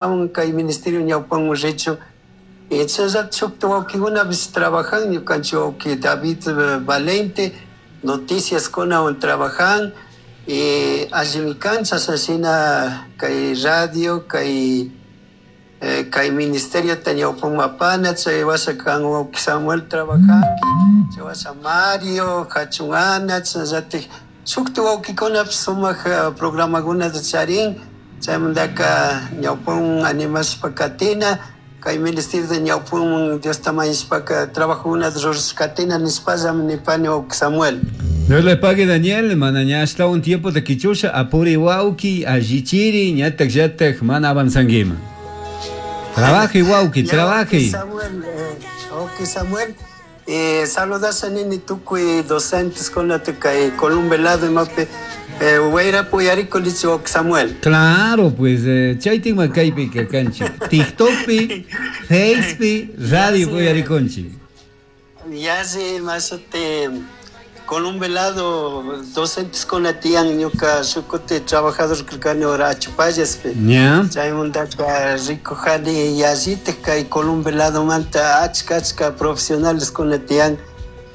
Kay ministerio ñawpanman richu. Chashnallata shukta wawkikunapish trabajan, ñukanchik wawki David Valente noticiaskunawan trabajan y allimi kan chashna shina kay radio, kay kay ministeriota ñawpanman apana, chay washa kan wawki Samuel trabajanki, chay washa Mario, Jachun Ana, chashnallatik shukta wawkikunapish sumak programakunata charin, chaymantaka ñawpanman animashpa katina, kay ministerio ñawpanman Diosta mañashpaka trabajokunata rurashpa katina nishpallami nipani wawki Samuel. Dios le pague, Daniel, mana ña ashtawan tiempota quichusha, apuri wawki, allichiri, ñatak llatak mana avanzanguiman. Trabaje, wawki, trabaje. Samuel, wawki Samuel, saludasha nini tukuy docentes kunata kay Columbe lado imapi wayrapi uyarikunichik wawki Samuel. Claro, pues chaytikma kaypi kanchik. TikTokpi, Facepi, radio uyarikunchik. Yalli mashuti Columbe lado docentes kuna tiyan ñuka shukuti trabajador karkani ora Achupallaspi. Chaymantaka rikujani yallitik kay Columbe ladomanta achka achka profesionales kuna tiyan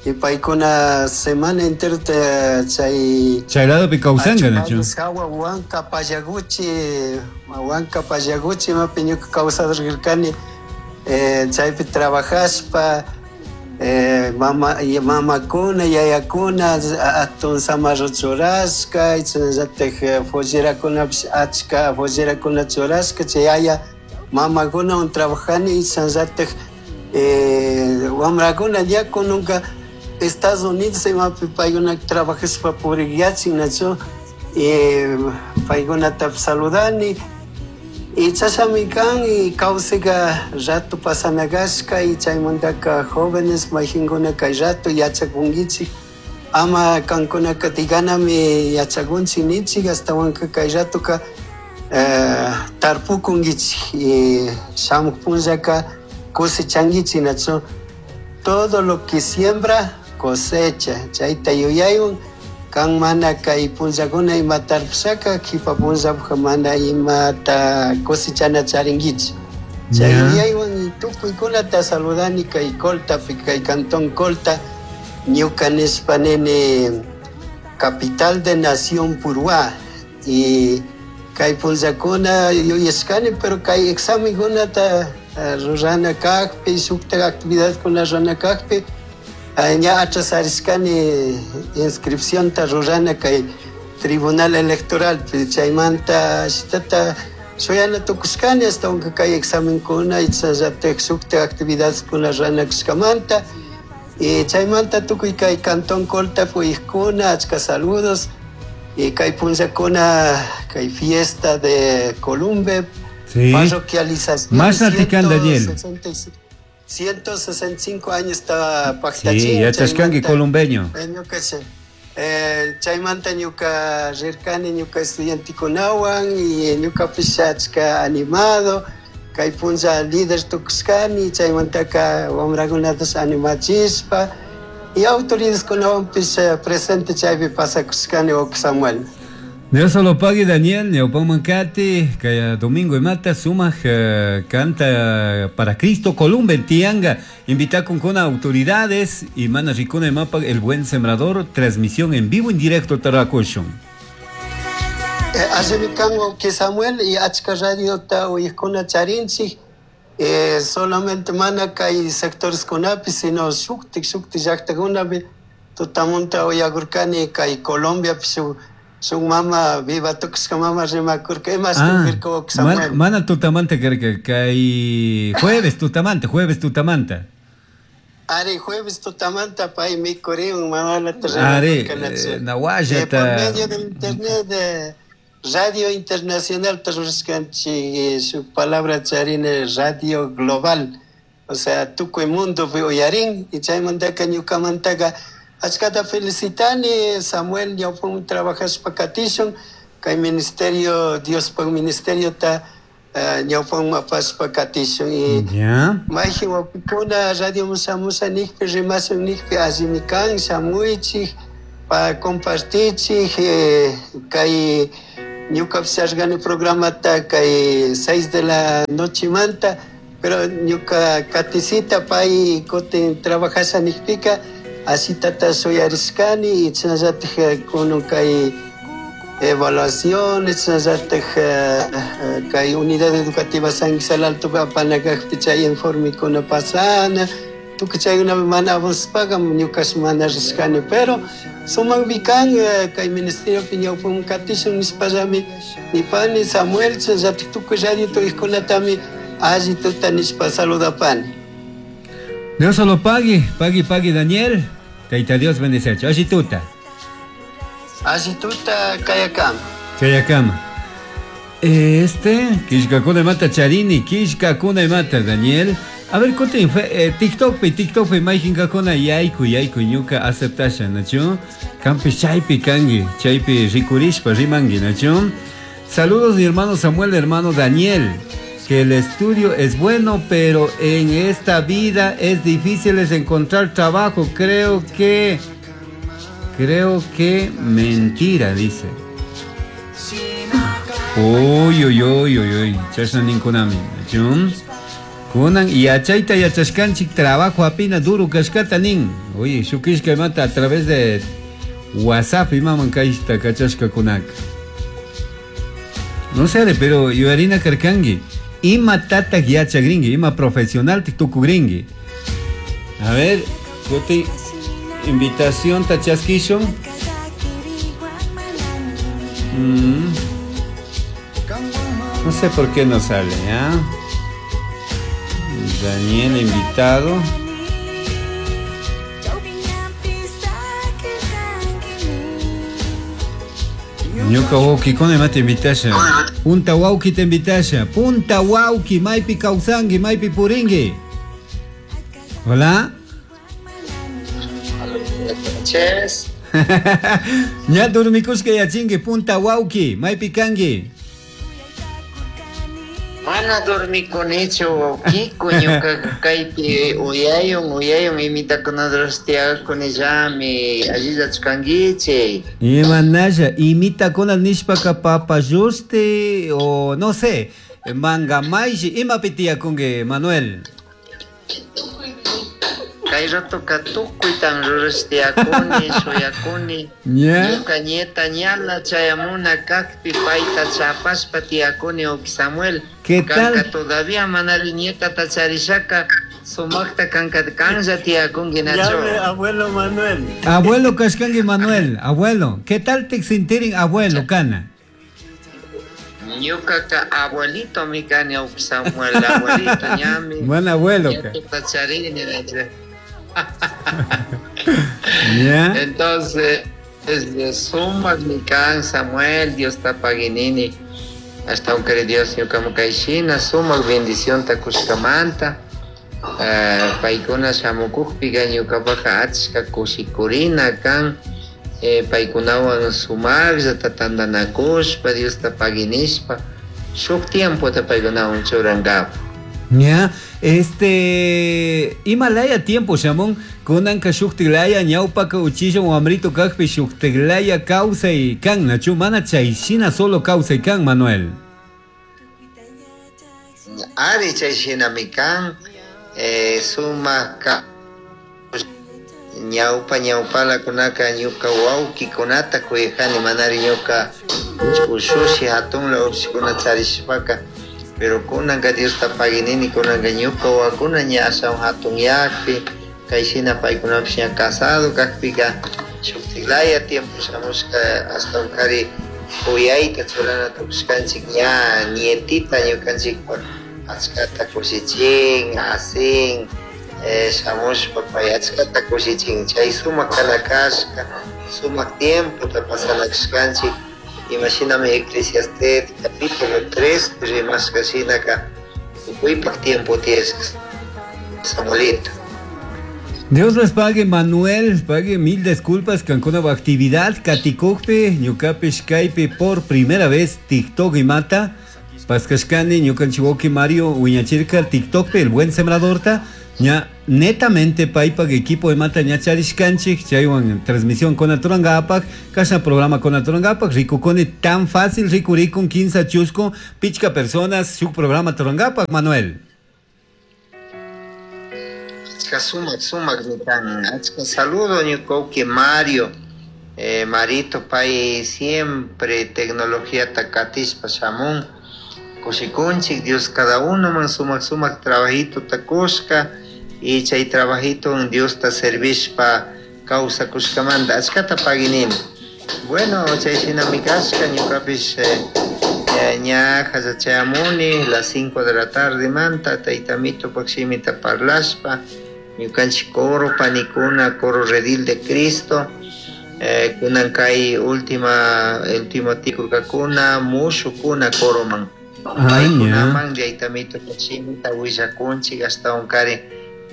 y paykuna semana enterota chay Chay ladopi kawsanka, nachu? Achupallas hawa Huanca Pallaguchi, Huanca Pallaguchi imapi ñuka kawsador karkani, chaypi trabajashpa, mama, mamakuna, yayakuna, atun samarro churashka, chashnallatak follerakunapish achka follerakuna churashka, chay yaya mamakunawan trabajani, chashnallatak wamrakuna ya kununka Estados Unidos imapi paykuna trabajashpa purikyachin, nachu, paykunatapish saludani. Y chashami kan y kawsayka rato pasana kashka y chaymantaka jóvenes mayjinkuna kay rato yachakunkichik, ama kankunaka diganami yachakunchik ninchik, ashtawanka kay ratoka tarpukunkichik y shamuk punllaka cosechankichik, nachu. Todo lo que siembra cosecha, chayta yuyaywan kan mana kay punllakuna ima tarpushaka kipa punllapuk mana imata cosechana charinkichik. Chay yuyaywan tukuykunata saludani kay Coltapi, kay Cantón Colta, ñuka nishpa nini capital de Nación Puruhá. Y kay punllakuna yuyashkani, pero kay examenkunata rurana kakpi, shukta actividadkuna rurana kakpi, ña atrasarishkani inscripcionta rurana kay Tribunal Electoral, chaymanta shitata shuyana tukushkani hasta aunque kay examenkuna y chashnallatak shukta actividadkuna rurana kashkamanta. Y chaymanta tukuy kay Cantón Colta puyijkuna, achka saludos. Y kay punllakuna kay fiesta de Columbe, parroquialización. Más Atican, Daniel. 165 años estaba pactachín. Sí, ya chascanqui columbeño. Chaymanta ñuka rirkani ñuka estudiantikunawan y ñukapish achka animado, kay punlla líder tukushkani, chaymantaka wamrakunatash animachishpa y autoridadkunawanpish presente chaypi pasakushkani wawki Samuel. Dios lo pague, Daniel, ñawpanman kati, kay domingo imata sumak canta para Cristo Columbe tianga, invita con autoridades y mana ricuna mapa el buen sembrador, transmisión en vivo en directo tarakushun. Allimi kan wawki Samuel y achka radiota uyajkuna charinchik, solamente mana kay sectores kunapi, sino shuktik shuktik llaktakunapi tutamunta uyakurkani kay Colombiapi shuk shuk mama viva tukushka mama rimakurka, ima shukirka wawki Samuel. Mana tutamanta karka, kay jueves tutamanta, jueves tutamanta. Ari, jueves tutamanta pay mikuriun mamalata Ari, rimakurka, nachu. nawallata. Por medio del internet, Radio Internacional tarurishkanchik, shuk palabra charine Radio Global, o sea, tukuy mundo uyarin, y chaymantaka ñukamantaka achkata felicitani Samuel, ñawpan trabajashpa katishun, kay ministerio, Diospaj ministerio ta ñawpan apashpa katishun, y mayjin wawkikuna radio mushamusha nikpi, rimashun nikpi, allimi kan, shamuychik, pa compartichik, kay Ñukapish charishkani programata kay 6 de la noche manta, pero ñuka katisita pay kutin trabajasha nijpika ashitata shuyarishkani y chashnallatik kunan kay evaluaciones, chashnallatik kay unidad educativa San Guisal Alto apana kajpi chay informekuna pasana, tukuy chaykunapi mana avanzashpaka ñukash mana rishkani, pero sumakmi kan kay ministeriopi ñawpaman katishun nishpallami nipani Samuel, chashnallatik tukuy radio tuykunatami alli tuta nishpa saludapani. Dios solo pague, pague, pague Daniel. Taita Dios bendice. Alli tuta. Alli tuta kayakama. Kayakama. Kishkakuna mata charini, kishkakuna mata Daniel. A ver, kutin, TikTok pi, TikTok pi, mayjinkakuna yayku, yayku, ñuka aceptasha, nachu? Kampi chaypi kangi, chaypi rikurishpa rimangi, nachu? Saludos mi hermano Samuel, hermano Daniel. Que el estudio es bueno, pero en esta vida es difícil encontrar trabajo. Creo que mentira, dice. Uy, uy, uy, uy, uy. Chashna ninkunami. Kunan yachayta yachashkanchik trabajo apina duro kashkata nin. Oye, shukishka mata a través de WhatsApp imaman kayta kachashka kunaka. No sé, pero yuarina karkangi. Ima tatak yachagringi, ima profesional tukugringi. A ver, kuti invitación tachaskishon. No sé por qué no sale, ¿ya? Daniel invitado. Ñuka wawki kuna mata invitasha. Punta wawki te invitasha. Punta wawki, maypi kawsangi, maypi puringi. Hola. Noches. Ña durmikushka yachingi, punta wawki, maypi kangi. Mana dormikunichu wawkiku, ñuka kaypi uyayun, uyayun imitakunadros tiyakunillami, allillachu kankichik. Imanalla, imitakuna nishpaka papayushti o no sé, mangamayshi, imapi tiyakunki, Manuel? Kay ratoka tukuytan rurash tiyakuni, shuyakuni. Ñuka nieta ñala chayamuna kakpi payta chapashpa tiyakuni wawki Samuel. ¿Qué tal? Kanka todavía manari nietata charishaka sumakta kanka kanlla tiyakunki nacho. Llame abuelo Manuel. Abuelo kashkanki Manuel, abuelo. ¿Qué tal te sintirin abuelo kana? Ñukaka abuelito mi kani wawki Samuel, abuelito ñami. Buen abuelo ka. Nietata charini nacho. ¿Ya? Entonces, sumak mi kan Samuel, Dios tapaginini. Hasta un querido Dios, ñuka mukaishina, sumak bendición takushkamanta. Paykuna shamukukpiga ñukapaqa achka kushikurina kan. Paykunawan sumaqllata tantanakushpa, Dios tapaginishpa, shuk tiempota paykunawan churankapa. Ya, Himalaya tiempo, Shamón, kunanka shuktiglaya, ñawpaka uchilla wamrito kakpi shuktiglaya kawsay kan, nachu, mana chayshina solo kawsay kan, Manuel. Ari chayshinami kan, sumak ka, ñawpa ñawpala kunaka ñuka wawkikunata kuyajani, manari ñuka ushushi hatunla ushikuna charishpaka. Pero kunanka Dios tapaginini, kunanka ñuka wawakuna ña ashawan hatun yakpi, kayshina paykunapish ña casado kakpika, shuktiklaya tiempo shamushka ashtawan kari kuyayta churana tukushkanchik ña nietita ñukanchikpak achkata kushichin, asin, shamushpa pay achkata kushichin, chay sumak kana kashka, sumak tiempota pasana kashkanchik. Imashinami Eclesiastés capítulo 3, rimashka shinaka tukuypak tiempo tiyashka, Samuelito. Dios les pague, Manuel, pague mil disculpas, kankuna actividad, katikukpi, ñukapish kaypi por primera vez TikTok y mata, paskashkani, ñukanchiwoki Mario, wiñachirka, TikTokpi, el buen sembradorta, Ña netamente paypak equipo imata ña charishkanchik chaywan transmisión kunaturankapak kashna programa kunaturankapak rikukuni tan fácil rikurikun kinsa chusku pichka personas shuk programa turankapak Manuel. Achka sumak sumakmi kan achka saludo ñuka wawki Mario Marito pay siempre tecnologiata katishpa shamun kushikunchik Dios cada unoman sumak sumak trabajitota kushka y chay trabajito Diosta servishpa kawsakushkamanta achkata paginini. Bueno, chay shinami kashka ñukapish ña chayamuni las 5 de la tarde manta tayta Mitopak shimita parlashpa ñukanchik coro panikuna coro redil de Cristo kunan kay última último tikurkakuna mushukuna coroman paykunaman tayta Mitopak shimita willakunchik ashtawankari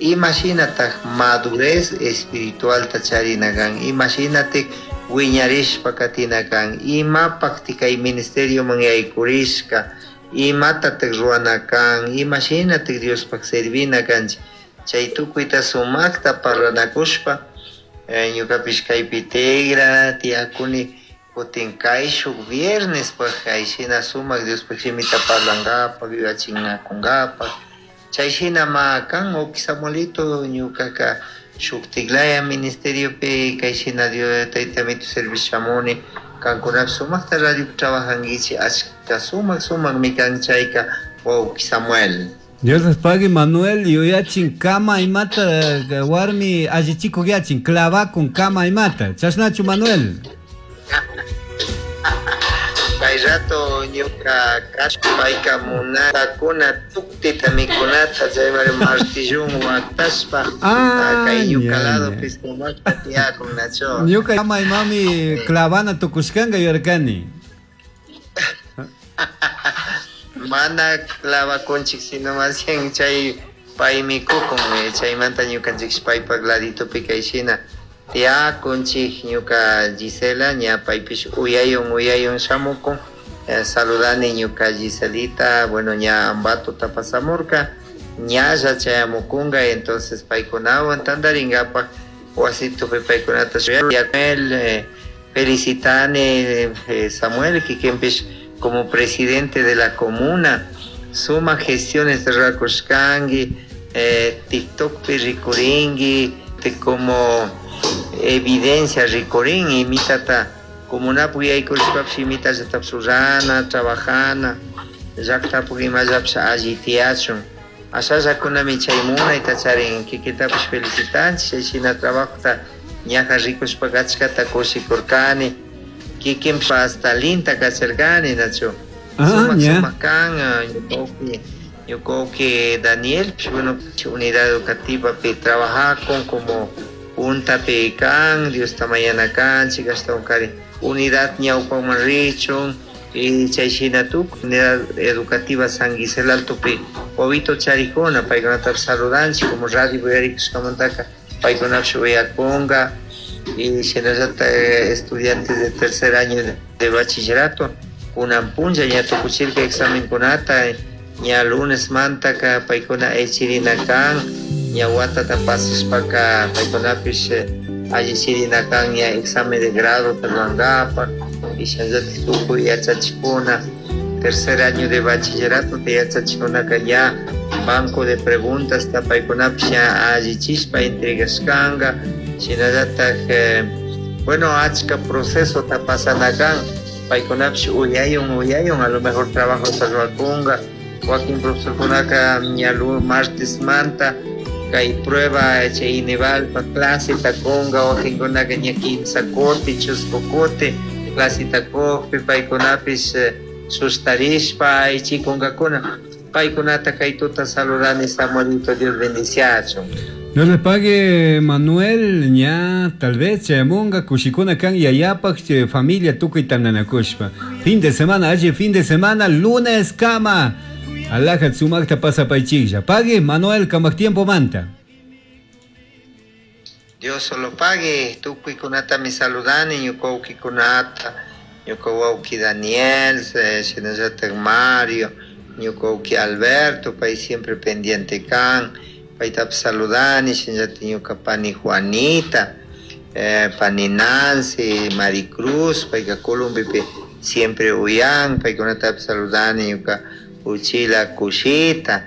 imashinatak madurez espiritualta charina kan imashinatik wiñarishpa katina kan imapaktik kay ministerioman yaykurishka imatatak ruwana kan imashinatik Diospaq servina kanchik chay tukuyta sumakta parlanakushpa ñukapish kaypi tigra tiyakuni kutin kayshuk viernes kayshina sumak Diospaq shimita parlankapak yuyachinakunkapak chay shina ma kan wawki Samuelito ñukaka shuktiklaya ministeriopi kayshina Dios tayta Mito servicio shamuni kankunapish sumakta radiopi trabajankichik achka sumak sumakmi kan chayka wawki Samuel. Dios les pague Manuel yuyachin kama imata warmi allichikuk yachin clavakun kama imata chashnachu Manuel. Kay rato ñuka payka munakuna tuktita mikunata chaymari martillun waktashpa kay ñuka ladopi sumakta tiyakun nacho. Ñuka kama imami clavana tukushkanka yuyarkani. Mana clavakunchik sino más bien chay pay mikukun chaymanta ñukanchik paypak laditopi kayshina tiyakunchik ñuka Gisela ña paypish uyayun uyayun shamukun saludani ñuka Giselita bueno ña Ambatota pasamurka ñalla chayamukunka entonces paykunawan tantarinkapak wasitupi paykunata felicitani Samuel kikinpish como presidente de la comuna suma gestiones rurakushkanki TikTokpi rikurinki como evidencia rikurin imitata comunapak yaykurishpapish imitallatapish rurana trabajana llaktapak imallapish alli tiyachun ashallakunami chay munayta charin kikitapish felicitanchik chay shina trabajota ñaja rikushpaka achkata kushikurkani kikinpish hasta linta kacharkani nachu sumak sumak kan ñuka wawki Daniel bueno unidad educativapi trabajakun como puntapi kan Diosta mañana kanchik ashtawankari unidad ñawpaman richun y chay shina tukuy unidad educativa San Gisela Altopi wawito charikuna paykunatapish saludanchik como radio uyarikushkamantaka paykunapish uyakunka y shinallatak estudiantes de tercer año de bachillerato kunan punlla ña tukuchirka examenkunata ña lunes mantaka paykuna aychirina kan ña watata pasashpaka paykunapish allichirina kan ña examen de grado rurankapak y shinallatak tukuy yachachikuna tercer año de bachillerato yachachikunaka ña banco de preguntas paykunapish ña allichishpa entregashkanka shinallatak bueno achka procesota pasana kan paykunapish uyayun uyayun a lo mejor trabajota rurakunka wakin profesorkunaka ña martes manta kay prueba chay Inevalpa claseta kunka wakinkunaka ña kimsa kuti chusku kuti claseta kukpi paykunapish sustarishpa aychikunkakuna paykunata kay tuta saludani Samuelito Dios bendiciachun. Dios le pague Manuel ña tal vez chayamunga kushikuna kan yayapak familia tukuy tantanakushpa fin de semana alli fin de semana lunes kama alajat sumakta pasapaychiklla pague Manuel kamak tiempo manta. Dios solo pague tukuykunatami saludani ñuka wawkikunata ñuka wawki Daniel shinallatak Mario ñuka wawki Alberto pay siempre pendiente kan Paytapish saludani, shinallatik ñuka pani Juanita, pani Nancy, Maricruz, payka Columbipi siempre uyan, paykunatapish saludani ñuka uchila kushita.